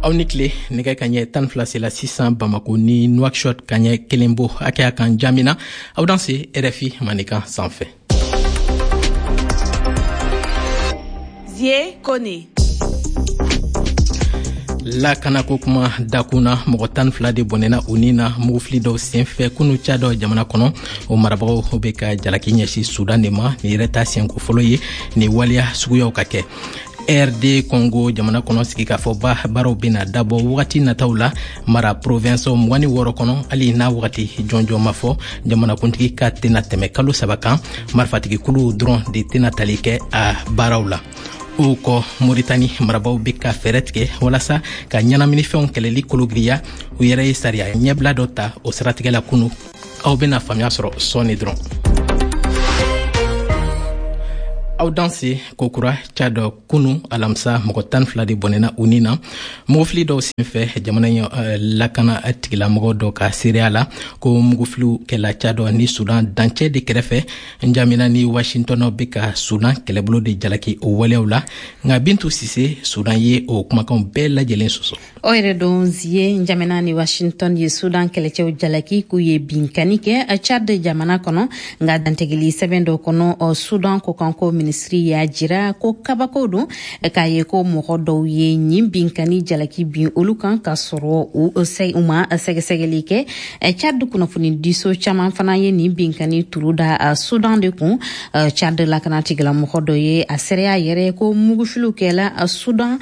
Aw ni tile. Nɛgɛ kaɲɛ 12 sela sisan Bamako ni Nouakchott, kaɲɛ 1 bo hakɛya kan Jamina. Aw danse RFI Mandenkan sanfɛ. Zie Kone. Lakanako kuma dakun na, mɔgɔ 12 de bɔnɛna u ni na mugufili dɔw senfɛ kunu Tchad jamana kɔnɔ. O marabagaw bɛ ka jalaki ɲɛsin Sudan de ma. Nin yɛrɛ ta siɲɛko fɔlɔ ye nin waleya suguyaw ka kɛ RD Congo jamana kɔnɔ. Sigikafɔba baaraw bɛna dabɔ wagati nataw la mara province 26 kɔnɔ, hali n'a wagati jɔnjɔn ma fɔ. Jamanakuntigi ka tɛna tɛmɛ kalo 3 kan. Marifatigikuluw dɔrɔn de tɛna tali kɛ a baaraw la. O kɔ, Moritani marabaw bɛ ka fɛɛrɛ tigɛ walasa ka ɲɛnaminifɛnw kɛlɛli kologiriya. U yɛrɛ ye sariya ɲɛbila dɔ ta o siratigɛ la kunu. Aw bɛna faamuya sɔrɔ sɔɔni dɔrɔn. Aw danse kokura. Tchad, kunu alamisa, mɔgɔ 12 de bɔnɛna u ni na mugufili dɔw senfɛ. Jamana in lakana tigilamɔgɔ dɔ ka seereya la, ko mugufiliw kɛla Tchad ni Sudan dancɛ de kɛrɛfɛ. Njamina ni Washington bɛ ka Sudan kɛlɛbolo de jalaki o waleyaw la, nka Bintu Sise, Sudan ye o kumakanw bɛɛ lajɛlen sɔsɔ. O yɛrɛ don Zie, Njamena ni Washington ye Sudan kɛlɛcɛw jalaki k'u ye binkani kɛ Chad jamana kɔnɔ. Nka dantigɛli sɛbɛn dɔ kɔnɔ, Sudan kɔkanko minisiri y'a jira ko kabako don k'a ye ko mɔgɔ dɔw ye nin binkani jalaki bin olu kan, k'a sɔrɔ u ma sɛgɛsɛgɛli kɛ. Chad kunnafonidiso caman fana ye nin binkani turu da Sudan de kun. Chad lakana tigilamɔgɔ dɔ ye a seereya yɛrɛ ko mugufiliw kɛla Sudan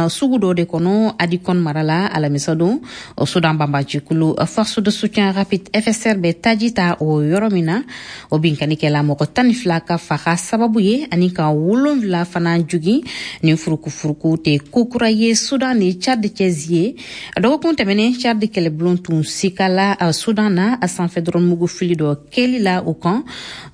sugu dɔ de kɔnɔ Adikɔn mara la alamisa don, Sudan banbacikulu Force de soutien rapide FSR bɛ taji ta o yɔrɔ min na. O binkani kɛla mɔgɔ 12 ka faga sababu ye ani ka 7 fana jogin. Nin furukufuruku tɛ kokura ye Sudan ni Chad cɛ, Zie. Dɔgɔkun tɛmɛnen, Chad kɛlɛbulon tun sikala Sudan na a sanfɛ dɔrɔn mugu fili dɔ kɛli la o kan.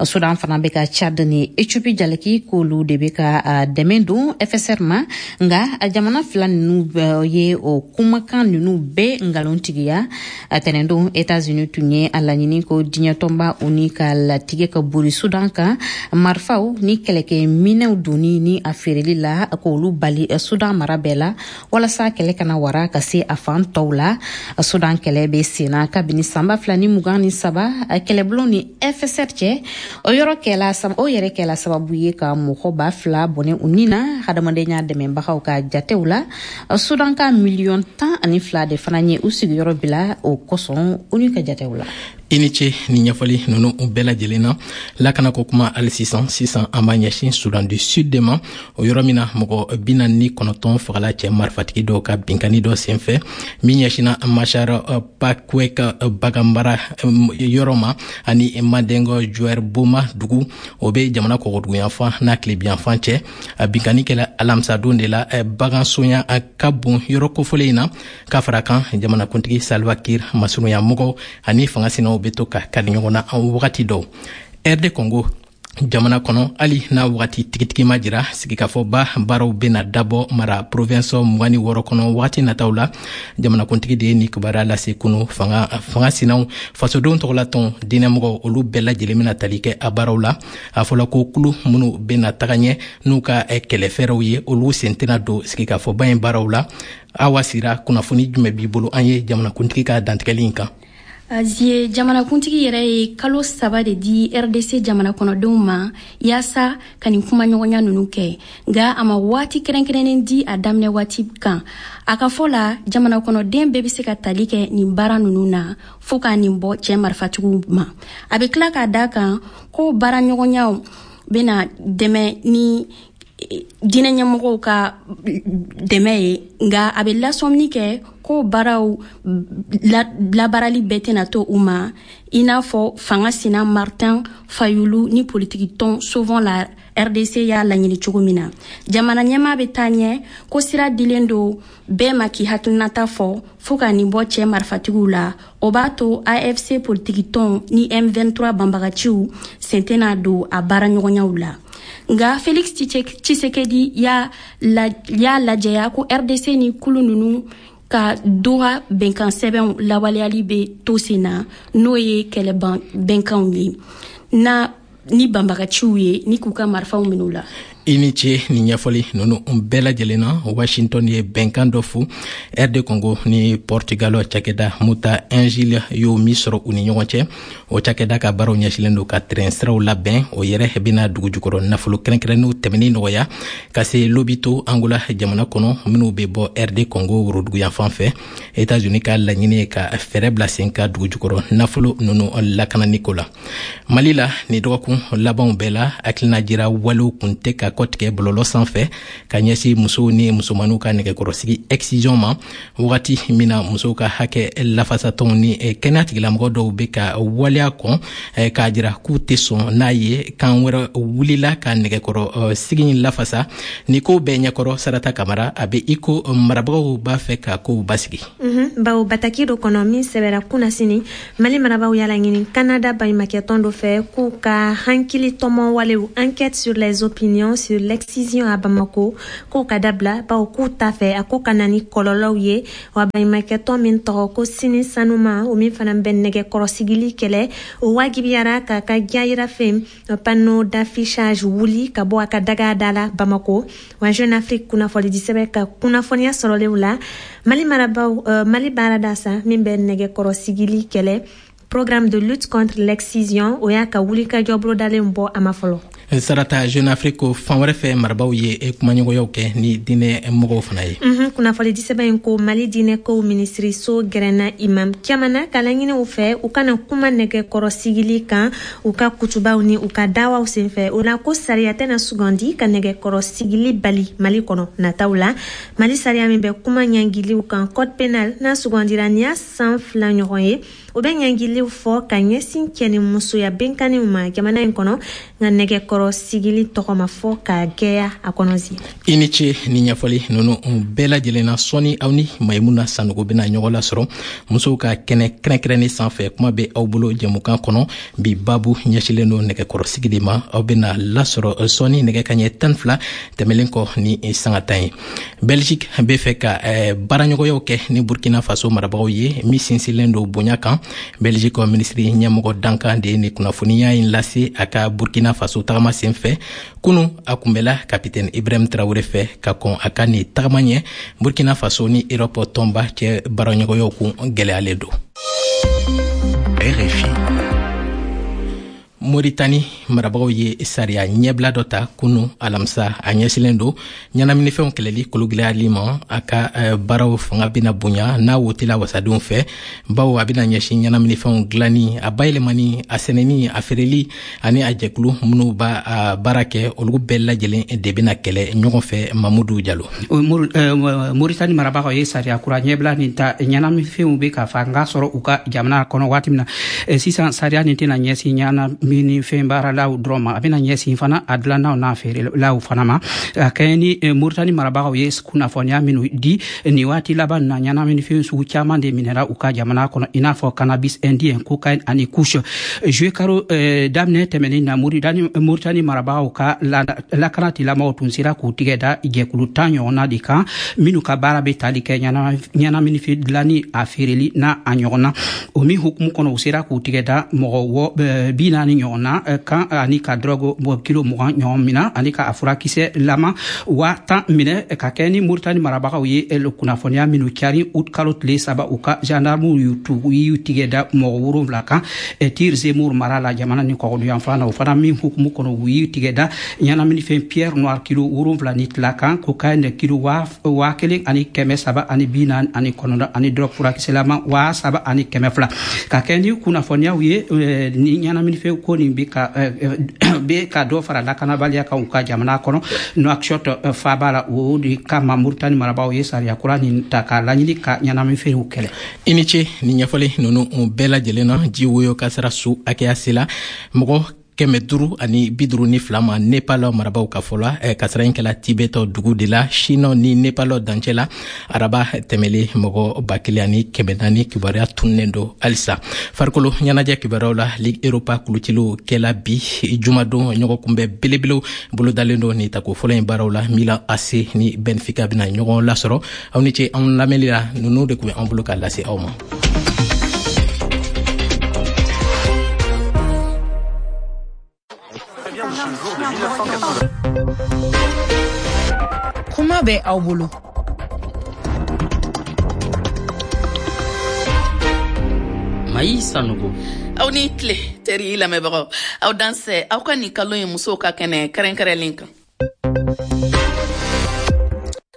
Sudan fana bɛ ka Chad ni Ethiopie jalaki k'olu de bɛ ka dɛmɛ don FSR ma, nka jamana fila ninnu ye o kumakan ninnu bɛɛ nkalontigiya. Tɛnɛndon, États-Unis tun ye a laɲini ko diɲɛ tɔnba ONU ka latigɛ ka bori Sudan kan marifaw ni kɛlɛkɛ minɛw donni ni a feereli la, k'olu bali Sudan mara bɛɛ la, walasa kɛlɛ kana wara ka se a fan tɔw la. Sudan kɛlɛ bɛ senna kabini san 2023 kɛlɛbulon ni FSR cɛ. O yɔrɔ kɛla, o yɛrɛ kɛla sababu ye ka mɔgɔ 2000 bɔnɛ u ni na hadamadenya dɛmɛbagaw ka jatew la. Sudan ka miliyɔn 12 de fana ye u sigiyɔrɔ bila o kosɔn, ONU ka jatew la. I ni ce ni ɲɛfɔli ninnu bɛɛ lajɛlen na. Lakanako kuma hali sisan. Sisan an b'a ɲɛsin Sudan du Sud de ma, o yɔrɔ min na mɔgɔ 49 fagala cɛ marifatigi dɔw ka binkani dɔ senfɛ min ɲɛsinna Machar Pakwek baganmara yɔrɔ ma ani Mading Juer Boma dugu, o bɛ jamana kɔgɔduguyanfan n'a tilebiyanfan cɛ. A binkani kɛla alamisadon de la bagansonya ka bon yɔrɔ kofɔlen in na. Ka fara kan, jamanakuntigi Salva Kiir masurunya mɔgɔw ani fanga sinaw bɛ to ka kari ɲɔgɔn na wagati dɔw. RD Congo jamana kɔnɔ, hali n'a wagati tigitigi ma jira, sigikafɔba baaraw bɛna dabɔ mara province 26 kɔnɔ wagati nataw la. Jamanakuntigi de ye nin kibaruya lase kunu. Fanga sinaw, fasodenw tɔgɔlatɔn, diinɛmɔgɔw, olu bɛɛ lajɛlen bɛna tali kɛ a baaraw la. A fɔla ko kulu minnu bɛna taga ɲɛ n'u ka kɛlɛfɛɛrɛw ye, olu sen tɛna don sigikafɔba in baaraw la. Awa Sira, kunnafoni jumɛn b'i bolo an ye jamanakuntigi ka dantigɛli in kan? Zie, jamanakuntigi yɛrɛ ye kalo 3 de di RDC jamana kɔnɔdenw ma yaasa ka nin kumaɲɔgɔnya ninnu kɛ, nka a ma waati kɛrɛnkɛrɛnnen di a daminɛ waati kan. A ka fɔ la, jamana kɔnɔden bɛɛ bɛ se ka tali kɛ nin baara ninnu na fɔɔ ka nin bɔ cɛ marifatigiw ma. A bɛ tila k'a da kan ko baaraɲɔgɔnyaw bɛna dɛmɛ ni diinɛ ɲɛmɔgɔw ka dɛmɛ ye, nka a bɛ lasɔmini kɛ ko baaraw labaarali bɛɛ tɛna to u ma, i n'a fɔ fanga sina Martin Fayulu ni politiki tɔn Sauvons la RDC y'a laɲini cogo min na. Jamana ɲɛmaa bɛ taa ɲɛ ko sira dilen don bɛɛ ma k'i hakilinata fɔ fo ka nin bɔ cɛ marifatigiw la. O b'a to AFC politiki tɔn ni M23 banbagaciw sen tɛna don a baaraɲɔgɔnyaw la. Nka Felix Tshisekedi y'a lajɛya ko RDC ni kulu ninnu ka Doha bɛnkan sɛbɛnw lawaleyali bɛ to sen na, n'o ye kɛlɛ bɛnkanw ye na ni banbagaciw ye ni k'u ka marifaw minɛ u la. I ni ce ni ɲɛfɔli ninnu bɛɛ lajɛlen na. Washington ye bɛnkan dɔ fu RD Congo ni Portugal cakɛda Mota-Engil y'o min sɔrɔ u ni ɲɔgɔn cɛ. O cakɛda ka baaraw ɲɛsilen don ka tɛrɛn siraw labɛn. O yɛrɛ bɛna dugujukɔrɔ nafolo kɛrɛnkɛrɛnnenw tɛmɛni nɔgɔya ka se Lobito, Angola jamana kɔnɔ, minnu bɛ bɔ RD Congo woroduguyanfan fɛ. Etats-Unis ka laɲini ye ka fɛɛrɛ bila sen ka dugujukɔrɔ nafolo ninnu lakanani ko la. Mali la, ni dɔgɔkun labanw bɛɛ la, hakilina jira walew kun tɛ ka kɔtigɛ bɔlɔlɔ sanfɛ ka ɲɛsin musow ni musomaninw ka nɛgɛkɔrɔsigi excision ma, wagati min na musow ka hakɛ lafasatɔnw ni kɛnɛya tigilamɔgɔ dɔw bɛ ka waleya kɔn k'a jira k'u tɛ sɔn n'a ye. Kan wɛrɛ wulila ka nɛgɛkɔrɔ sigi in lafasa. Ni ko bɛɛ ɲɛkɔrɔ, Sarata Kamara, a bɛ i ko marabagaw b'a fɛ ka kow basigi. Bawo bataki dɔ kɔnɔ min sɛbɛra kunnasini, Mali marabaaw y'a laɲini Kanada baɲumakɛtɔn dɔ fɛ k'u ka hankili tɔmɔ walew, enquête sur les opinions sur l'excision à Bamako, k'o ka dabila, bawo k'u t'a fɛ a ko ka na ni kɔlɔlɔw ye. Wa baɲumakɛtɔn min tɔgɔ ko Sini Sanuma, o min fana bɛ nɛgɛkɔrɔsigili kɛlɛ, o wajibiyara k'a ka jayirafen, panneau d'affichage, wuli ka bɔ a ka daga da la Bamako. Wa Jeune Afrique kunnafonidisɛbɛn ka kunnafoniya sɔrɔlenw la, Mali marabaw Mali baarada sa min bɛ nɛgɛkɔrɔsigili kɛlɛ, Programme de lutte contre l'excision, o y'a ka wulikajɔ bolodalen bɔ a ma fɔlɔ. Sarata, Jeune Afrique ko fan wɛrɛ fɛ, marabaw ye kumaɲɔgɔnyaw kɛ ni diinɛ mɔgɔw fana ye. Kunnafoni disɛbɛn in ko Mali diinɛkow minisiriso gɛrɛnna imam caman na ka laɲini u fɛ u kana kuma nɛgɛkɔrɔsigili kan u ka kutubaw ni u ka dawaw senfɛ. O la ko sariya tɛna sugandi ka nɛgɛkɔrɔsigili bali Mali kɔnɔ nataw la. Mali sariya min bɛ kuma ɲangiliw kan, code pénal, n'a sugandira nin y'a san 2 ɲɔgɔn ye, o bɛ ɲangiliw fɔ ka ɲɛsin cɛ ni musoya benkanniw ma jamana in kɔnɔ, nka nɛgɛkɔrɔ sigili tɔgɔ ma fɔ ka gɛya a kɔnɔ zi. I ni ce ni ɲɛfɔli ninnu bɛɛ lajɛlen na. Sɔɔni, aw ni Mayimuna Sanogo bɛna ɲɔgɔn lasɔrɔ musow ka kɛnɛ kɛrɛnkɛrɛnnen sanfɛ. Kuma bɛ aw bolo jɛmukan kɔnɔ, bi babu ɲɛsilen don nɛgɛkɔrɔsigi de ma. Aw bɛna lasɔrɔ sɔɔni nɛgɛ ka ɲɛ 12 tɛmɛlen kɔ ni sanga 10 ye. Belgique bɛ fɛ ka baaraɲɔgɔnyaw kɛ ni Burkina Faso marabagaw ye min sinsinlen don bonya kan. Belgique minisiri ɲɛmɔgɔ dankan de ye ni kunnafoniya in lase a ka Burkina Faso tagama sen fɛ kunu. A kunbɛla kapitɛni Ibrahim Traoré fɛ. Ka kɔn a ka nin tagama ɲɛ, Burkina Faso ni Europe tɔnba cɛ baaraɲɔgɔnyaw kun gɛlɛyalen don. RFI. Moritani marabagaw ye sariya ɲɛbila dɔ ta kunu alamisa. A ɲɛsilen don ɲɛnaminifɛnw kɛlɛli kologɛlɛyali ma. A ka baaraw fanga bɛna bonya n'a wotela wasadenw fɛ, bawo a bɛna ɲɛsin ɲɛnaminifɛnw dilanni, a bayɛlɛmani, a sɛnɛni, a feereli ani a jɛkulu minnu b'a baara kɛ, olu bɛɛ lajɛlen de bɛna kɛlɛ ɲɔgɔn fɛ. Mamudu Jalo. Moritani marabagaw ye sariya kura ɲɛbila nin ta ɲɛnaminifɛnw bɛ ka fanga sɔrɔ u ka jamana kɔnɔ waati min na sisan. Sariya nin tɛna ɲɛsin ɲɛnaminifɛn baaralaw dɔrɔn ma, a bɛna ɲɛsin fana a dilannaw n'a feerelaw fana ma. A kɛɲɛ ni Moritani marabagaw ye kunnafoniya minnu di nin waati laban na, ɲɛnaminifɛn sugu caman de minɛra u ka jamana kɔnɔ, i n'a fɔ cannabis indien, cocaïne ani kush. Juillet karo daminɛ tɛmɛnen na, Moritani marabagaw ka lakana tigilamɔgɔw tun sera k'u tigɛ da jɛkulu 10 ɲɔgɔnna de kan minnu ka baara bɛ tali kɛ ɲɛnaminifɛn dilanni, a feereli n'a a ɲɔgɔnna. O min hukumu kɔnɔ, u sera k'u tigɛ da mɔgɔ 40 ɲɔgɔnna kan ani ka drogue kilo 20 ɲɔgɔn minɛ ani ka a furakisɛ lama 10 000 minɛ. Ka kɛ ni Moritani marabagaw ye kunnafoniya minnu cari août kalo tile 3, u ka gendarmew y'u tigɛ da mɔgɔ 7 kan Tir Zemmour mara la, jamana ni kɔgɔduyanfan na. O fana min hukumu kɔnɔ, u y'u tigɛ da ɲɛnaminifɛn pierre noire kilo 7.5 kan, cocaïne kilo 1349 ani drogue furakisɛlama 3200. Ka kɛ ni kunnafoniyaw ye, ni ɲɛnaminifɛn ko nin bɛ ka dɔ fara lakanabaliya kan u ka jamana kɔnɔ, Nouakchott faaba la. O de kama Moritani marabagaw ye sariya kura nin ta k'a laɲini ka ɲɛnaminifɛnw kɛlɛ. I ni ce ni ɲɛfɔli ninnu bɛɛ lajɛlen na. Ji woyo kasara su hakɛya sela mɔgɔ 552 ma Nepal marabaw ka fɔ la. Kasara in kɛla Tibet dugu de la, Chine ni Nepal dancɛ la, araba tɛmɛlen. Mɔgɔ 1400 kibaruya tununnen don halisa. Farikolo ɲɛnajɛ kibaruyaw la, Ligue Europa kuluciliw kɛla bi jumadon. Ɲɔgɔn kunbɛ belebelew bolodalen don nin tako fɔlɔ in baaraw la. Milan AC ni Benfica bɛna ɲɔgɔn lasɔrɔ. Aw ni ce anw lamɛnli la. Ninnu de tun bɛ an bolo k'a lase aw ma. Kuma bɛ aw bolo. Mayi Sanogo. Aw ni tile, teri lamɛnbagaw, aw dansɛ aw ka nin kalo ye musow ka kɛnɛ kɛrɛnkɛrɛnlen kan.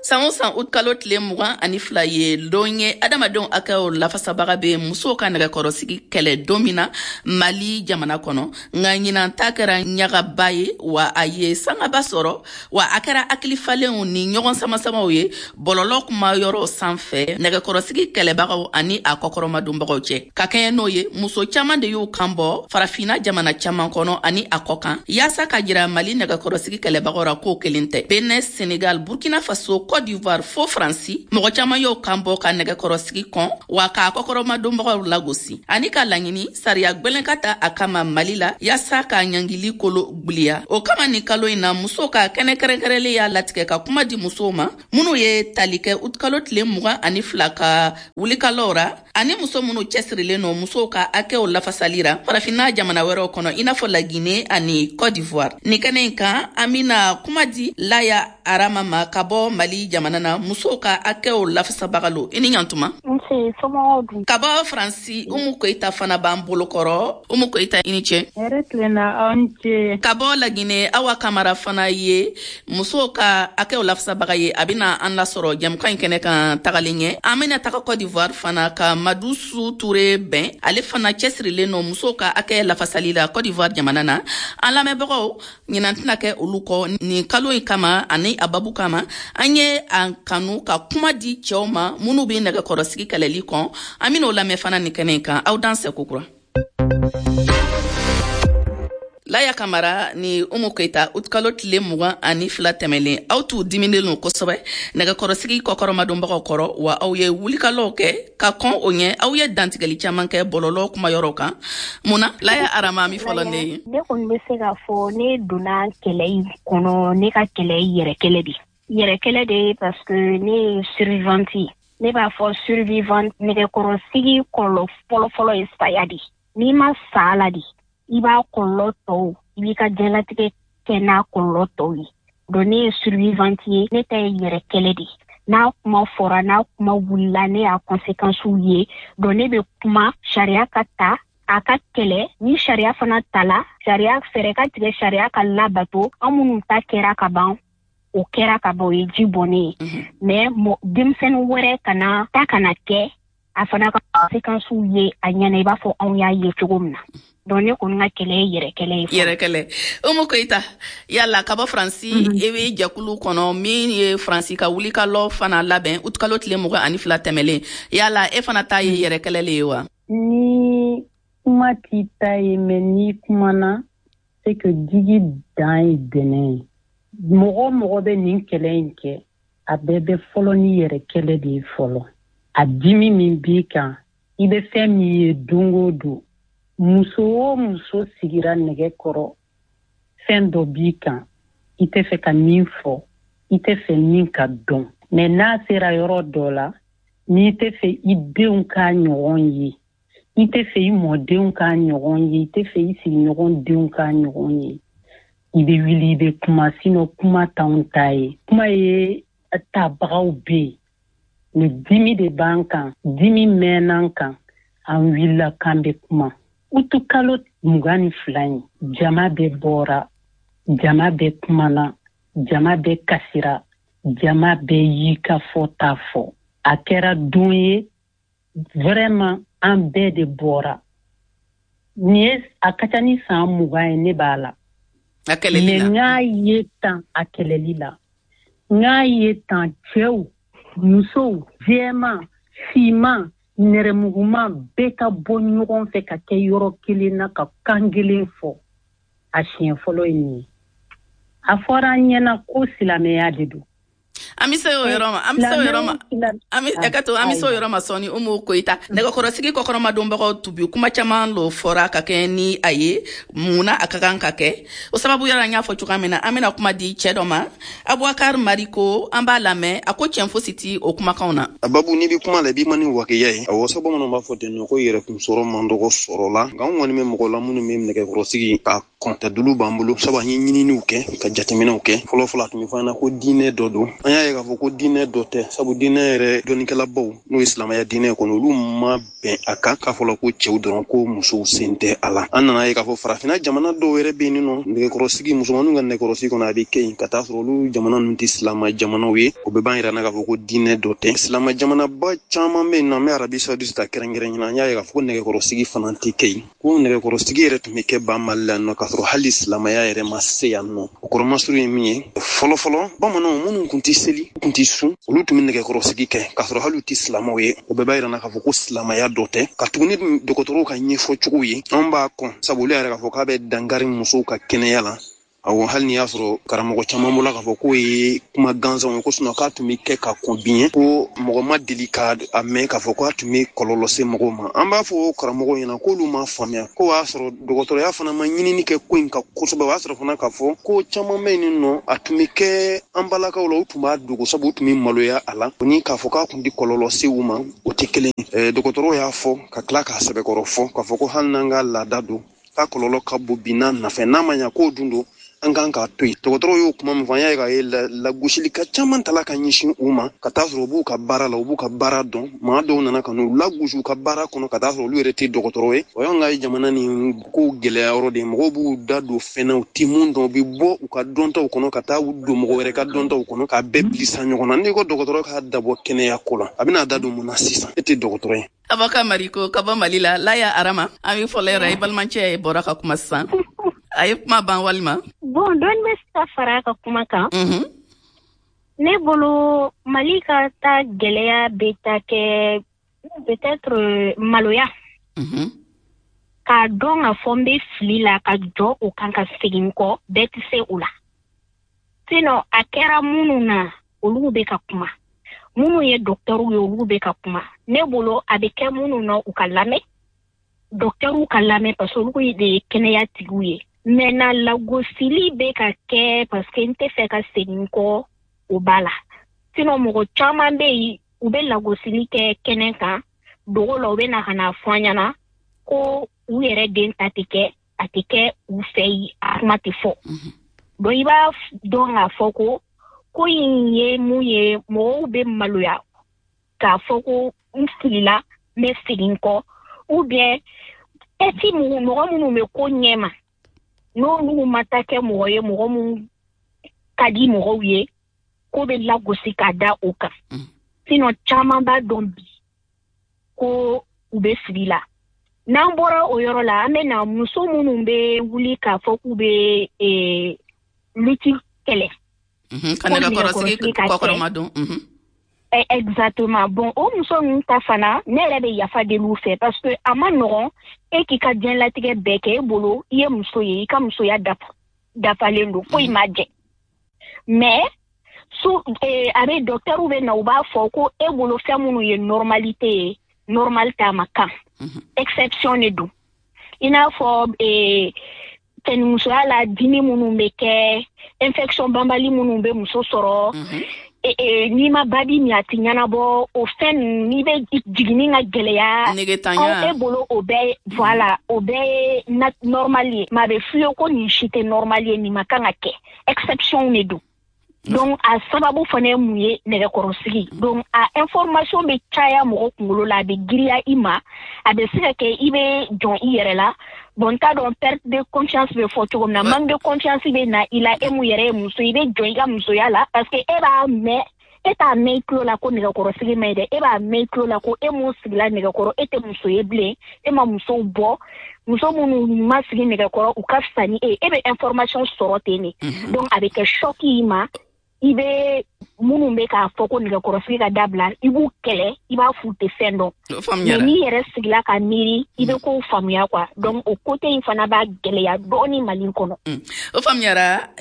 San o san, utikalo tile 22 ye don ye adamadenw hakɛw lafasabaga bɛ musow ka nɛgɛkɔrɔsigi kɛlɛ don min na Mali jamana kɔnɔ. Nka ɲinan ta kɛra ɲagaba ye wa, a ye sangaba sɔrɔ wa, a kɛra hakilifalenw ni ɲɔgɔn samasamaw ye bɔlɔlɔ kuma yɔrɔ sanfɛ nɛgɛkɔrɔsigi kɛlɛbagaw ani a kɔkɔrɔmadonbagaw cɛ. Ka kɛɲɛ n'o ye, muso caman de y'u kan bɔ Farafina jamana caman kɔnɔ ani a kɔ kan, yaasa ka jira Mali nɛgɛkɔrɔsigi kɛlɛbagaw ra k'o kelen tɛ. Benin, Senegal, Burkina Faso, Côte d'Ivoire fo Faransi, mɔgɔ caman y'o kan bɔ ka nɛgɛkɔrɔsigi kɔn wa, k'a kɔkɔrɔmadonbagaw lagosi ani ka laɲini sariya gwɛlɛn ka ta a kama Mali la, yaasa ka ɲangili kolo gwiliya. O kama, nin kalo in na, musow ka kɛnɛ kɛrɛnkɛrɛnlen y'a latigɛ ka kuma di musow ma minnu ye tali kɛ utikalo tile 22 ka wulikalɔw ra, ani muso minnu cɛsirilen nɔ musow ka hakɛw lafasali ra Farafinna jamana wɛrɛw kɔnɔ, i n'a fɔ Lagine ani Côte d'Ivoire. Nin kɛnɛ in kan, an bena kuma di Laya Arama ma ka bɔ Mali jamana na, musow ka hakɛw lafasabaga lo. I ni ɲantuma. Ka bɔ Faransi, Umu Koyita fana b'an bolokɔrɔ. Umu Koyita, i ni cɛ. Hɛrɛ tilenna, aw ni ce. Ka bɔ Lagine, Awa Kamara fana ye musow ka hakɛw lafasabaga ye, a bena an lasɔrɔ jɛmukan in kɛnɛ kan tagalen ɲɛ. An bena taga Côte d'Ivoire fana ka Madusu Ture bɛn, ale fana cɛsirilen nɔ musow ka hakɛ lafasali la Côte d'Ivoire jamana na. An lamɛnbagaw, ɲinan tɛna kɛ olu kɔ. Nin kalo in kama ani a babu kama, an ye an kanu ka kuma di cɛw ma minnu bɛ nɛgɛkɔrɔsigi kɛlɛli kɔn. An ben'o lamɛn fana nin kɛnɛ in kan. Aw dansɛ kokura. Laya Kamara ni Umu Koyita, utikalo tile 22 tɛmɛlen, aw t'u diminen lo kosɛbɛ nɛgɛkɔrɔsigi kɔkɔrɔmadonbagaw kɔrɔ wa, aw ye wulikalɔw kɛ ka kɔn o ɲɛ, aw ye dantigɛli caman kɛ bɔlɔlɔ kumayɔrɔw kan. Mun na, Laya Arama, mi fɔlɔ ne ye? Ne kɔni bɛ se k'a fɔ, ne donna kɛlɛ in kɔnɔ, ne ka kɛlɛ yɛrɛ kɛlɛ de, yɛrɛ kɛlɛ de ye, parce que ne ye survivante ye. Ne b'a fɔ survivante, nɛgɛkɔrɔsigi kɔlɔlɔ fɔlɔfɔlɔ ye saya de. N'i ma sa la de, i b'a kɔlɔlɔ tɔw, i b'i ka diɲɛlatigɛ kɛ n'a kɔlɔlɔ tɔw ye. Donc ne ye survivante ye, ne ta ye yɛrɛ kɛlɛ de. N'a kuma fɔra, n'a kuma wulila, ne y'a conséquences ye. Donc ne bɛ kuma sariya ka ta, a ka kɛlɛ. Ni sariya fana tala, sariya fɛɛrɛ ka tigɛ, sariya ka labato. An minnu ta kɛra ka ban, o kɛra ka ban, o ye ji bɔnnen ye. Mais denmisɛnnin wɛrɛ kana ta kana kɛ a fana ka conséquences ye a ɲɛna, i b'a fɔ anw y'a ye cogo min na. Donc ne kɔni ka kɛlɛ ye yɛrɛ kɛlɛ ye. Yɛrɛ kɛlɛ. Umu Koyita, yala ka bɔ Faransi, i bɛ jɛkulu kɔnɔ min ye Faransi ka wulikalɔ fana labɛn utikalo tile 22 tɛmɛlen. Yala e fana ta ye yɛrɛ kɛlɛ le ye wa? Ni kuma t'i ta ye, mais n'i kumana, c'est que digi dan ye dɛnɛ ye. Mɔgɔ mɔgɔ bɛ nin kɛlɛ in kɛ, a bɛɛ bɛ fɔlɔ ni yɛrɛ kɛlɛ de ye fɔlɔ. A dimi min b'i kan, i bɛ fɛn min ye don o don, muso o muso sigira nɛgɛ kɔrɔ, fɛn dɔ b'i kan, i tɛ fɛ ka min fɔ, i tɛ fɛ min ka dɔn. Mais n'a sera yɔrɔ dɔ la, n'i tɛ fɛ i denw k'a ɲɔgɔn ye, i tɛ fɛ i mɔdenw k'a ɲɔgɔn ye, i tɛ fɛ i sigiɲɔgɔn denw k'a ɲɔgɔn ye, i bɛ wuli, i bɛ kuma. Sinon kuma t'anw ta ye, kuma ye tabagaw bɛ yen. Mais dimi de b'an kan, dimi mɛnn'an kan, an wulila k'an bɛ kuma. Utukalo 22 in, jama bɛɛ bɔra, jama bɛɛ kumana, jama bɛɛ kasira, jama bɛɛ y'i ka fɔta fɔ. A kɛra don ye vraiment, an bɛɛ de bɔra. Nin ye a ka ca ni san 20 ye ne b'a la. A kɛlɛli la. Mais n y'a ye tan, a kɛlɛli la, n y'a ye tan, cɛw, musow, jɛman, finman, nɛrɛmuguman, bɛɛ ka bɔ ɲɔgɔn fɛ ka kɛ yɔrɔ kelen na ka kan kelen fɔ. A siɲɛ fɔlɔ ye nin ye. A fɔra an ɲɛna ko silamɛya de don. An bɛ se o yɔrɔ ma, an bɛ se o yɔrɔ ma, an bɛ ka to, an bɛ se o yɔrɔ ma sɔɔni. Umu Koyita, nɛgɛkɔrɔsigi kɔkɔrɔmadonbagaw tubi kuma caman lo fɔra ka kɛ ni a ye. Mun na a ka kan ka kɛ? O sababu yɔrɔ, an y'a fɔ cogoya min na, an bɛna kuma di cɛ dɔ ma, Abubakar Mariko, an b'a lamɛn. A ko tiɲɛ fosi ti o kumakanw na. A babu, n'i bɛ kuma la, i b'i ma ni wakiya ye. Awɔ, sabu bamananw b'a fɔ ten nɔ ko yɛrɛkun sɔrɔ man dɔgɔ sɔrɔ la. Nka an kɔni bɛ mɔgɔ la minnu bɛ nɛgɛkɔrɔsigi ka kɔn. Dalilu b'an bolo, sabu an ye ɲininiw kɛ ka jateminɛw kɛ. Fɔlɔfɔlɔ a tun bɛ fɔ an na ko diinɛ dɔ don. An y'a ye k'a fɔ ko diinɛ dɔ tɛ, sabu diinɛ yɛrɛ dɔnnikɛlabaw, n'o ye silamɛya diinɛ kɔnɔ, olu ma bɛn a kan k'a fɔla ko cɛw dɔrɔn, ko musow sen tɛ a la. An nana ye k'a fɔ farafinna jamana dɔw yɛrɛ bɛ yen nɔ, nɛgɛkɔrɔsigi, musomaninw ka nɛgɛkɔrɔsigi kɔnɔ, a bɛ kɛ yen ka taa sɔrɔ olu jamana ninnu tɛ silama jamanaw ye. O bɛɛ b'an yira na k'a fɔ ko diinɛ dɔ tɛ. Silama jamanaba caman bɛ yen nɔ, an bɛ Arabi Saoudite ta kɛrɛnkɛrɛn na, an y'a ye k'a fɔ ko nɛgɛkɔrɔsigi fana tɛ kɛ yen, ko nɛgɛkɔrɔsigi yɛrɛ tun bɛ kɛ ba Mali la nɔ, k'a sɔrɔ hali silamɛya yɛrɛ ma se yan nɔ. O kɔrɔmasuru ye min ye, fɔlɔfɔlɔ bamananw minnu tun tɛ seli, tun tɛ sun, olu tun bɛ nɛgɛkɔrɔsigi kɛ k'a sɔrɔ hali u tɛ silamɛw ye. O bɛɛ b'a yira na k'a fɔ ko silamɛya dɔ tɛ. Ka tugu ni dɔgɔtɔrɔw ka ɲɛfɔcogo ye, anw b'a kɔn, sabu olu yɛrɛ k'a fɔ k'a bɛ dankari musow ka kɛnɛya la. Awɔ, hali n'i y'a sɔrɔ karamɔgɔ caman bɔla k'a fɔ k'o ye kuma gansanw ye, ko sinɔn k'a tun bɛ kɛ ka kɔn biɲɛ, ko mɔgɔ ma deli ka a mɛn k'a fɔ k'a tun bɛ kɔlɔlɔ se mɔgɔw ma. An b'a fɔ karamɔgɔw ɲɛna k'olu m'a faamuya, ko o y'a sɔrɔ dɔgɔtɔrɔya fana ma ɲinini kɛ ko in kan kosɛbɛ. O y'a sɔrɔ fana k'a fɔ ko caman bɛ yen nɔ, a tun bɛ kɛ an balakaw la, u tun b'a dogo, sabu u tun bɛ maloya a la. O ni k'a fɔ k'a tun tɛ kɔlɔlɔ se u ma, o tɛ kelen ye. Dɔgɔtɔrɔw y'a fɔ ka tila k'a sɛbɛkɔrɔ fɔ k'a fɔ ko hali n'an ka laada don, k'a kɔlɔlɔ ka bon bi n'a nafa, n'a ma ɲa k'o dun don, an kan k'a to yen. Dɔgɔtɔrɔw y'o kuma min fɔ, an y'a ye k'a ye lagosili ka caman tala ka ɲɛsin u ma, ka taa sɔrɔ u b'u ka baara la, u b'u ka baara dɔn. Maa dɔw nana ka n'u lagosi u ka baara kɔnɔ, ka taa sɔrɔ olu yɛrɛ tɛ dɔgɔtɔrɔ ye. O y'an ka jamana nin ko gɛlɛya yɔrɔ de ye. Mɔgɔw b'u da don fɛn na, u tɛ mun dɔn, u bɛ bɔ u ka dɔntaw kɔnɔ ka taa u don mɔgɔ wɛrɛ ka dɔntaw kɔnɔ, k'a bɛɛ bilisa ɲɔgɔn na. N'i ko dɔgɔtɔrɔ k'a dabɔ kɛnɛya ko la, a bɛna da don mun na sisan? E tɛ dɔgɔtɔrɔ ye. Avocat Mariko ka bɔ Mali la, Laya Arama, an bɛ fɔlɔ yɛrɛ, i balimacɛ bɔra ka kuma sisan. A ye kuma ban walima? Bon, dɔɔni bɛ se ka fara a ka kuma kan. Ne bolo, Mali ka taa gɛlɛya bɛ taa kɛ peut-être maloya. K'a dɔn k'a fɔ n bɛ fili la, ka jɔ o kan ka segin kɔ, bɛɛ tɛ se o la. Sinon a kɛra minnu na, olu bɛ ka kuma. Minnu ye dɔgɔtɔrɔw ye, olu bɛ ka kuma. Ne bolo, a bɛ kɛ minnu na, u ka lamɛn. Dɔgɔtɔrɔw ka lamɛn, parce que olu de ye kɛnɛya tigiw ye. Maintenant, lagosili bɛ ka kɛ parce que n tɛ fɛ ka segin kɔ, o b'a la. Sinon mɔgɔ caman bɛ yen, u bɛ lagosili kɛ kɛnɛ kan, dogo la, u bɛ na ka na fɔ an ɲɛna ko u yɛrɛ den ta tɛ kɛ, a tɛ kɛ u fɛ yen, a kuma tɛ fɔ. Donc i b'a dɔn k'a fɔ ko ko in ye mun ye, mɔgɔw bɛ maloya k'a fɔ ko n filila, n bɛ segin kɔ, ou bien ɛti mɔgɔ minnu bɛ ko ɲɛma, n'olu ma taa kɛ mɔgɔ ye, mɔgɔ mun ka di mɔgɔw ye, ko bɛ lagosi ka da o kan. Sinon caman b'a dɔn bi ko u bɛ fili la. N'an bɔra o yɔrɔ la, an bɛ na muso minnu bɛ wuli k'a fɔ k'u bɛ lutte kɛlɛ. Ka nɛgɛkɔrɔsigi kɔkɔrɔma don. Exactement. Bon, o muso ninnu ta fana, ne yɛrɛ bɛ yafa deli u fɛ, parce que a ma nɔgɔn e k'i ka diɲɛlatigɛ bɛɛ kɛ, e bolo i ye muso ye, i ka musoya dafalen don, foyi ma jɛ. Mais su a bɛ docteur bɛ na, u b'a fɔ ko e bolo fɛn minnu ye normalité ye, normal t'a ma kan. Exception de don. I n'a fɔ cɛnimusoya la, dimi minnu bɛ kɛ, infection banbali minnu bɛ muso sɔrɔ, n'i ma babi min, a tɛ ɲɛnabɔ, o fɛn ninnu, n'i bɛ jiginni ka gɛlɛya, e bolo o bɛɛ, voilà, o bɛɛ ye normal ye. Mais a bɛ f'i ye ko nin si tɛ normal ye, nin ma kan ka kɛ, exception de don. Donc a sababu fana ye mun ye? Nɛgɛkɔrɔsigi. Donc a information bɛ caya mɔgɔ kunkolo la, a bɛ giriya i ma, a bɛ se ka kɛ i bɛ jɔn i yɛrɛ la. Bon, n t'a dɔn perte de confiance bɛ fɔ cogo min na, manque de confiance bɛ na i la, e mun yɛrɛ ye muso, i bɛ jɔn i ka musoya la, parce que e b'a mɛn, e t'a mɛn i tulo la ko nɛgɛkɔrɔsigi ma ɲi dɛ, e b'a mɛn i tulo la ko e mun sigila nɛgɛkɔrɔ, e tɛ muso ye bilen, e ma musow bɔ, muso minnu ma sigi nɛgɛkɔrɔ, u ka fisa ni e ye, e bɛ information sɔrɔ ten de. Donc a bɛ kɛ choc y'i ma. I bɛ minnu bɛ k'a fɔ ko nɛgɛkɔrɔsigi ka dabila, i b'u kɛlɛ, i b'a f'u tɛ fɛn dɔn. Mais n'i yɛrɛ sigila ka miiri, i bɛ kow faamuya quoi. Donc o côté in fana b'a gɛlɛya dɔɔni Mali kɔnɔ. O faamuyara.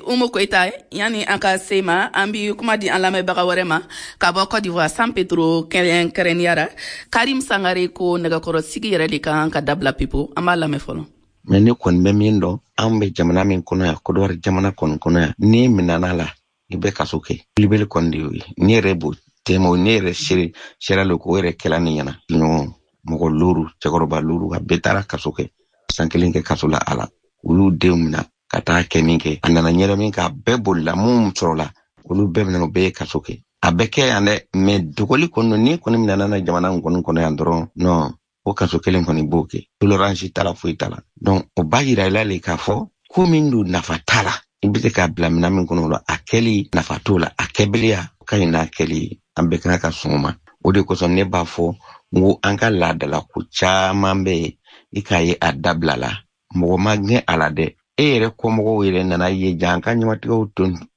Umu Koyita, yanni an ka se ma, an bi kuma di an lamɛnbaga wɛrɛ ma ka bɔ Côte d'Ivoire, San Pedro kɛrɛnkɛrɛnnenya, Karim Sangare, ko nɛgɛkɔrɔsigi yɛrɛ de kan ka dabila pewu. An b'a lamɛn fɔlɔ. Mais ne kɔni bɛ min dɔn, an bɛ jamana min kɔnɔ yan, Côte d'Ivoire jamana kɔni kɔnɔ yan, n'i minana la, i bɛ kaso kɛ. Libeli kɔni de y'o ye. Ne yɛrɛ b'o tɛmɛ, ne yɛrɛ seere sera le k'o yɛrɛ kɛla ne ɲɛna. Ɲɔgɔn mɔgɔ looru, cɛkɔrɔba looru, a bɛɛ taara kaso kɛ, san kelen kɛ kaso la a la. U y'u denw minɛ ka taa kɛ min kɛ, a nana ɲɛdɔn min k'a bɛɛ bolila, mun sɔrɔla, olu bɛɛ minɛ, u bɛɛ ye kaso kɛ. A bɛ kɛ yan dɛ, mais dogoli kɔni, n'i kɔni minɛna na jamana in kɔni kɔnɔ yan dɔrɔn, non, o kaso kelen kɔni b'o kɛ, tolérance t'a la, foyi t'a la. Donc o b'a yira i la le k'a fɔ ko min don, nafa t'a la. I bɛ se k'a bila minɛn min kɔnɔ o la, a kɛli nafa t'o la, a kɛbaliya ka ɲi n'a kɛli ye. An bɛɛ kan ka sɔn o ma. O de kosɔn ne b'a fɔ n ko an ka laadalako caman bɛ yen, i k'a ye a dabila la, mɔgɔ ma gɛn a la dɛ. E yɛrɛ kɔmɔgɔw yɛrɛ nana ye ja an ka ɲɛmatigɛw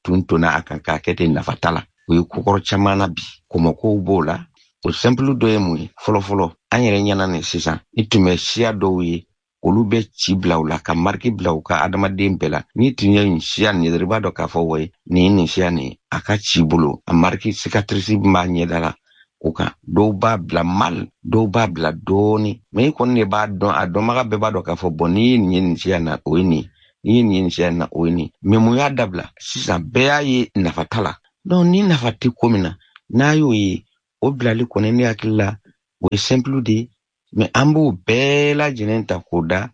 tun tonna a kan k'a kɛ ten, nafa t'a la. O ye kokɔrɔ caman na bi, kɔmɔkow b'o la. O simple dɔ ye mun ye? Fɔlɔfɔlɔ an yɛrɛ ɲɛna nin sisan, i tun bɛ siya dɔw ye, olu bɛ ci bila u la ka mariki bila u ka adamaden bɛɛ la. N'i tun ye nin siya nin ye dɔrɔn, i b'a dɔn k'a fɔ wɔyi, nin ye nin siya nin ye. A ka ci bolo, a mariki cicatrice b'a ɲɛda la o kan. Dɔw b'a bila mal, dɔw b'a bila dɔɔni, mais i kɔni de b'a dɔn, a dɔnbaga bɛɛ b'a dɔn k'a fɔ bɔn, n'i ye nin ye nin siya na, o ye nin ye, n'i ye nin ye nin siya na, o ye nin. Mais mun y'a dabila sisan? Bɛɛ y'a ye nafa t'a la. Donc ni nafa tɛ ko min na, n'a y'o ye, o bilali kɔni, ne hakili la, o ye simple de ye. Mais an b'o bɛɛ lajɛlen ta k'o da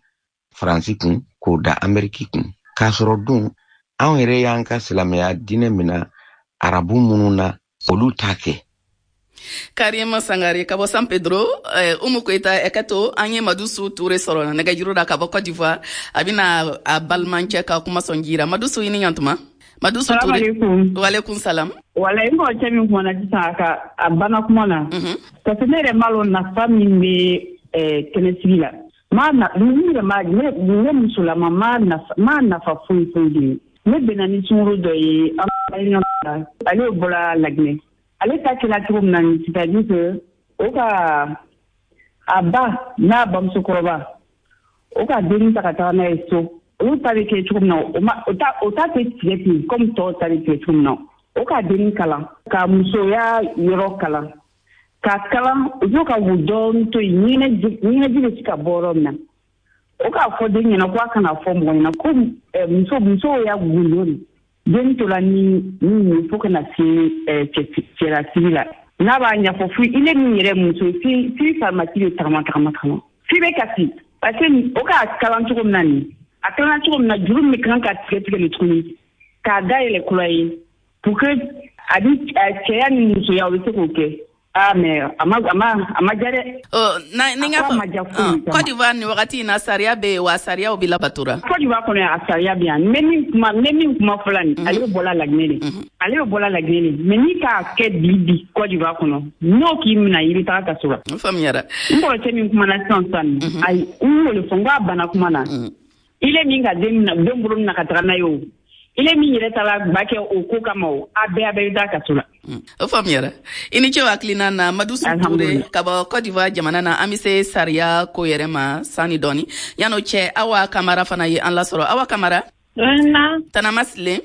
Faransi kun, k'o da Ameriki kun, k'a sɔrɔ dun anw yɛrɛ y'an ka silamɛya diinɛ minɛ arabu minnu na, olu t'a kɛ. Karima Sangare ka bɔ San Pedro, Umu Koyita, ɛkɛto, an ye Madusu Ture sɔrɔ nɛgɛjuru la ka bɔ Cote d'Ivoire. A bɛna a balimakɛ ka kuma sɔn jira. Madusu, i ni ɲantuma. Madusu Ture. Walekum salam. Wala, n kɔrɔcɛ min kumana sisan, a ka a banna kuma na, parce que ne yɛrɛ m'a lɔn nafa min bɛ kɛnɛsigi la. Ma na ne yɛrɛ ma, ne musolama ma nafa, ma nafa foyi foyi de ye. Ne bɛnna ni sunkuru dɔ ye an la, ale bɔra Laginɛ. Ale ta kɛra cogo min na, c'est à dire que o ka a ba n'a bamusokɔrɔba, o ka dennin ta ka taga n'a ye so. Olu ta bɛ kɛ cogo min na, o ma o ta, o ta tɛ tigɛ ten comme tɔw ta bɛ tigɛ cogo min na. O ka dennin kalan, ka musoya yɔrɔ kalan, ka kalan, u b'o ka wo dɔɔnin to yen, ɲɛnɛji bɛ se ka bɔ yɔrɔ min na. O k'a fɔ den ɲɛna ko a kana fɔ mɔgɔ ɲɛna ko muso y'a gundo de. Den tola ni ni fo ka na se cɛlasigi la, n'a b'a ɲɛfɔ fo ile min yɛrɛ muso fi farimasi bɛ tagama tagama tagama, fi bɛ kasi, parce que o k'a kalan cogo min na nin, a kalan cogo min na, juru min kan ka tigɛ tigɛ nin tuguni k'a dayɛlɛ kura ye pour que a bi cɛya ni musoya, o bɛ se k'o kɛ. Ah, mais a ma diya dɛ. Na ni n ka fɔ Côte d'Ivoire nin wagati in na, sariya bɛ yen wa, sariyaw bɛ labatora? Côte d'Ivoire kɔnɔ, a sariya bɛ yan. N bɛ min kuma fɔla nin, ale bɛ bɔla Laginɛ de. Ale bɛ bɔla Laginɛ de. Mais n'i k'a kɛ bi bi Côte d'Ivoire kɔnɔ, n'o k'i minɛ, i bɛ taga kaso la. N faamuyara. N kɔrɔcɛ min kumana sisan sisan, ayi, n y'o de fɔ, n ko a banna kuma na. Ile min ka den minɛ, den bolo minɛ ka taga n'a ye o, ile min yɛrɛ taara ba kɛ o ko kama o, a bɛɛ bɛ taa kaso la. O faamuyara. I ni ce o hakilina na, Madusu Ture ka bɔ Côte d'Ivoire jamana na. An bɛ se sariya ko yɛrɛ ma sani dɔɔni. Yan'o cɛ, Awa Kamara fana ye an lasɔrɔ. Awa Kamara. Tana Masilen.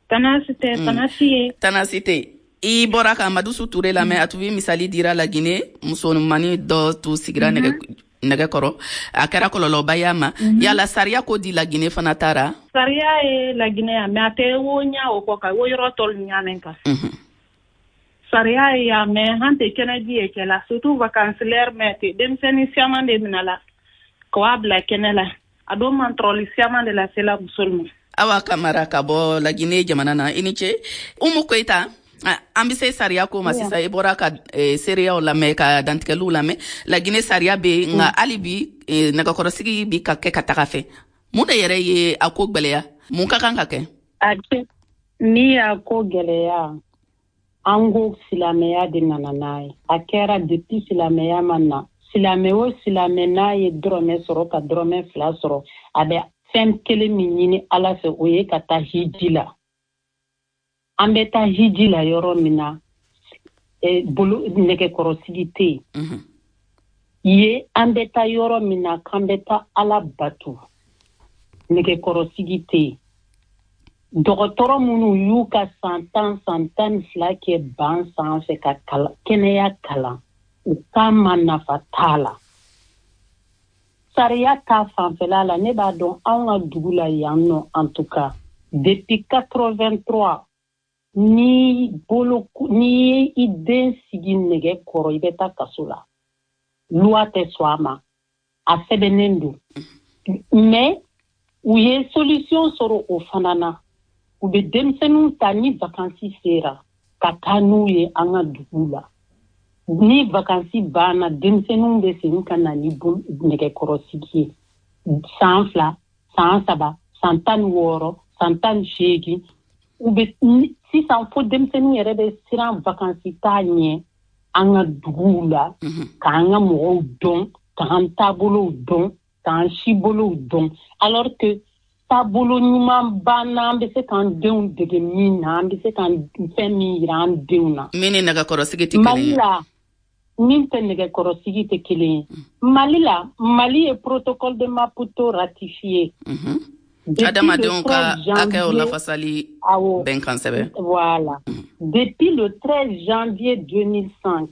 Tana si tɛ, tana si ye. Tana si tɛ. I bɔra ka Madusu Ture lamɛn, a tun bɛ misali dira Laginɛ, musomani dɔ tun sigira nɛgɛ kɔrɔ, a kɛra kɔlɔlɔba y'a ma. Yala sariya ko di Laginɛ fana taara? Sariya ye Laginɛ yan, mais a tɛ wo ɲa o kɔ kan, wo yɔrɔ tɔlu ɲaamɛn kan. Sariya ye yan, mais an tɛ kɛnɛji ye kɛla, surtout vacances l'heure mɛ tɛ denmisɛnnin siaman de minɛ la k'a bila kɛnɛ la, a don man tɔrɔli siaman de la sela musolu ma. Awa Kamara ka bɔ Laginɛ jamana na, i ni ce. Umu Koyita, an bɛ se sariya ko ma sisan. I bɔra ka seereyaw lamɛn, ka dantigɛliw lamɛn. Laginɛ sariya bɛ yen, nka hali bi nɛgɛkɔrɔsigi bi ka kɛ ka taga fɛ. Mun de yɛrɛ ye a ko gwɛlɛya? Mun ka kan ka kɛ? Ni y'a ko gwɛlɛya, an ko silamɛya de nana n'a ye. A kɛra depuis silamɛya ma na, silamɛ o silamɛ n'a ye dɔrɔmɛ sɔrɔ ka dɔrɔmɛ 2 sɔrɔ, a bɛ fɛn kelen min ɲini Ala fɛ, o ye ka taa hiji la. An bɛ taa hiji la yɔrɔ min na, bolo nɛgɛkɔrɔsigi tɛ yen. Ye an bɛ taa yɔrɔ min na k'an bɛ taa Ala bato, nɛgɛkɔrɔsigi tɛ yen. Dɔgɔtɔrɔ minnu y'u ka san 10 san 12 kɛ ban sanfɛ ka kɛnɛya kalan, u k'a ma nafa t'a la. Sariya ta fanfɛla la, ne b'a dɔn anw ka dugu la yan nɔ, en tout cas depuis 83, ni bolo n'i ye i den sigi nɛgɛ kɔrɔ, i bɛ taa kaso la. Loi tɛ sɔn a ma, a sɛbɛnnen don. Mais U ye solution sɔrɔ o fana na. U bɛ denmisɛnninw ta ni vacances sera ka taa n'u ye an ka dugu la. Ni vacances banna, denmisɛnninw bɛ segin ka na ni nɛgɛkɔrɔsigi ye. San 2, san 3, san 16, san 18. U bɛ sisan fo denmisɛnninw yɛrɛ bɛ siran vacances taa ɲɛ an ka duguw la, k'an ka mɔgɔw dɔn, k'an taabolow dɔn, k'an sibolow dɔn. Alors que taabolo ɲuman banna, an bɛ se k'an denw dege min na, an bɛ se k'an fɛn min yira an denw na. Min ni nɛgɛkɔrɔsigi tɛ kelen ye. Mali la, min tɛ nɛgɛkɔrɔsigi tɛ kelen ye. Mali la, Mali ye protocole de Maputo ratifié. Adamadenw ka hakɛw lafasali bɛnkan sɛbɛn. Voilà. Depuis le 13 janvier 2005.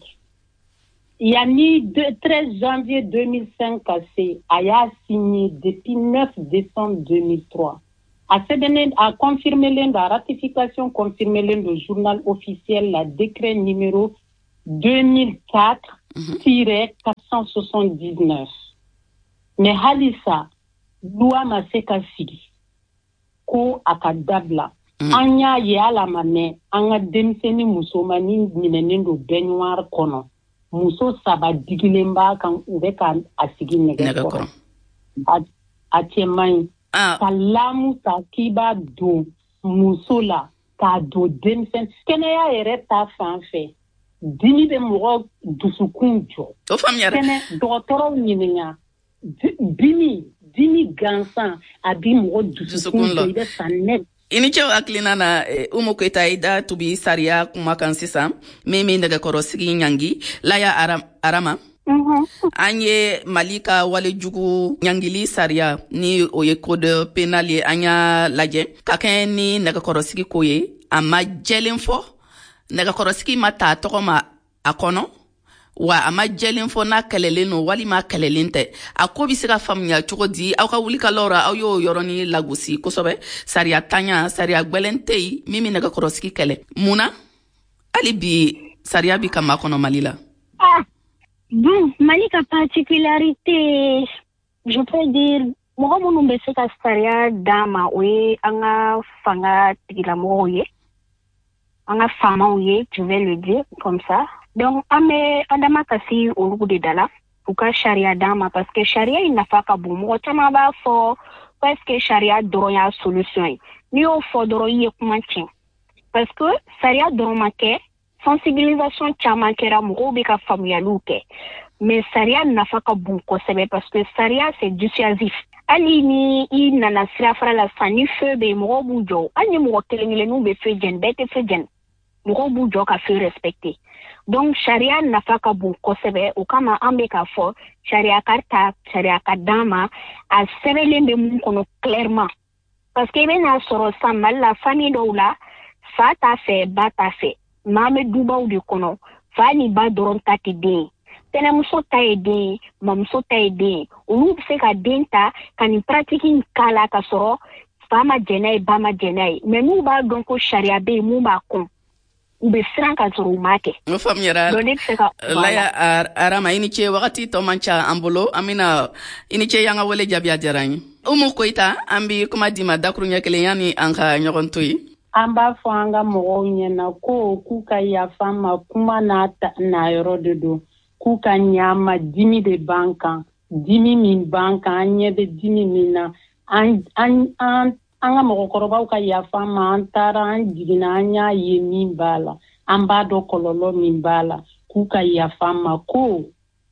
Yanni 13 janvier 2005 ka se, a y'a signé depuis 9 décembre 2003. A sɛbɛnnen, a confirmelen don, a ratification confirmelen don journal officiel la, décret numéro 2004-479. Mais halisa, loi ma se ka sigi ko a ka dabila. An y'a ye, hali a ma mɛn, an ka denmisɛnnin musomanin minɛnen don baignoire kɔnɔ. Muso 3 digilen b'a kan, u bɛ ka a sigi nɛgɛ kɔrɔ. A cɛ man ɲi. Ka lame ta k'i b'a don muso la, k'a don denmisɛnnin. Kɛnɛya yɛrɛ ta fan fɛ, dimi bɛ mɔgɔ dusukun jɔ. O faamuyara. Kɛnɛ dɔgɔtɔrɔw ɲininka, dimi gansan a bi mɔgɔ dusukun jɔ, i bɛ sa nɛ. I ni ce hakilina na. Umu Koyita, i da tubi sariya kuma kan sisan min bɛ nɛgɛkɔrɔsigi ɲangi. Laya Arama, an ye Mali ka walejugu ɲangili sariya, ni o ye code pénal ye, an y'a lajɛ ka kɛɲɛ ni nɛgɛkɔrɔsigi ko ye. A ma jɛlen fɔ, nɛgɛkɔrɔsigi ma ta tɔgɔ ma a kɔnɔ wa, a ma jɛlen fɔ n'a kɛlɛlen no walima kɛlɛlen tɛ. A ko bɛ se ka faamuya cogo di? Aw ka wulikalaw ra, aw y'o yɔrɔnin lagosi kosɛbɛ. Sariya tanya, sariya gwɛlɛn tɛ yen min bɛ nɛgɛkɔrɔsigi kɛlɛ. Mun na hali bi sariya bi ka makɔnɔ Mali la? Ah, bon, Mali ka particularité, je peux dire, mɔgɔ minnu bɛ se ka sariya d'an ma, o ye an ka fanga tigilamɔgɔw ye, an ka faamaw ye, je vais le dire comme ça. Donc an bɛ an dama kasi olu de da la, u ka sariya d'an ma, parce que sariya in nafa ka bon. Mɔgɔ caman b'a fɔ parce que sariya dɔrɔn y'a solution ye. N'i y'o fɔ dɔrɔn, i ye kuma tiɲɛ, parce que sariya dɔrɔn ma kɛ, sensibilisation caman kɛra, mɔgɔw bɛ ka faamuyaliw kɛ, mais sariya nafa ka bon kosɛbɛ, parce que sariya, c'est dissuasif. Hali ni i nana sirafara la sisan, ni feu bɛ yen, mɔgɔw b'u jɔ. Hali ni mɔgɔ kelen kelenninw bɛ feu jɛni, bɛɛ tɛ feu jɛni, mɔgɔw b'u jɔ ka feu respecter. Donc sariya nafa ka bon kosɛbɛ. O kama an bɛ k'a fɔ sariya ka ta, sariya ka d'an ma, a sɛbɛnlen bɛ mun kɔnɔ clairement, parce que i bɛna sɔrɔ sisan Mali la, famille dɔw la, fa t'a fɛ, ba t'a fɛ, mais an bɛ dubaw de kɔnɔ, fa ni ba dɔrɔn ta tɛ den ye, tɛnɛmuso ta ye den ye, mamuso ta ye den ye. Olu bɛ se ka den ta ka nin pratique in k'a la, ka sɔrɔ fa ma jɛn n'a ye, ba ma jɛn n'a ye, mais n'u b'a dɔn ko sariya bɛ yen mun b'a kɔn, u bɛ siran ka sɔrɔ u m'a kɛ. O faamuyara. Donc ne bɛ se ka. Laya Arama, i ni ce. Wagati tɔ man ca an bolo, an bɛna i ni ce y'an ka wele jaabi, a diyara an ye. Umu Koyita, an bi kuma d'i ma dakuruɲɛ kelen yanni an ka ɲɔgɔn to yen. An b'a fɔ an ka mɔgɔw ɲɛna ko k'u ka yafa ma, kuma n'a na yɔrɔ de don, k'u ka ɲa dimi de b'an kan, dimi min b'an kan, an ɲɛ bɛ dimi min na. An an an an ka mɔgɔkɔrɔbaw ka yafa ma, an taara, an jiginna, an y'a ye min b'a la, an b'a dɔn kɔlɔlɔ min b'a la, k'u ka yafa ma, ko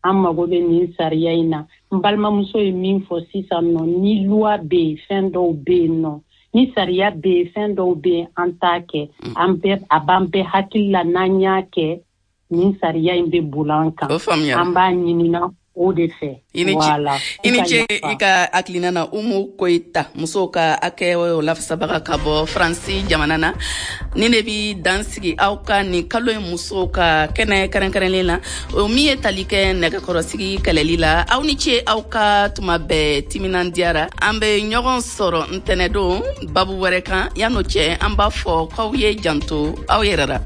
an mago bɛ nin sariya in na. N balimamuso ye min fɔ sisan nɔ, ni loi bɛ yen, fɛn dɔw bɛ yen nɔ, ni sariya bɛ yen, fɛn dɔw bɛ yen, an t'a kɛ. An bɛɛ, a b'an bɛɛ hakili la, n'an y'a kɛ, nin sariya in bɛ boli an kan. O faamuyara. An b'a ɲinina o de fɛ. I ni ce. Voilà. I ni ce i ka hakilina na, Umu Koyita, musow ka hakɛ lafasabaga ka bɔ Faransi jamana na. Ni ne bi dan sigi aw ka nin kalo ye musow ka kɛnɛ kɛrɛnkɛrɛnlen na, o min ye tali kɛ nɛgɛkɔrɔsigi kɛlɛli la. Aw ni ce aw ka tuma bɛɛ timinandiyara. An bɛ ɲɔgɔn sɔrɔ ntɛnɛdon babu wɛrɛ kan. Yan'o cɛ, an b'a fɔ k'aw ye janto aw yɛrɛ la.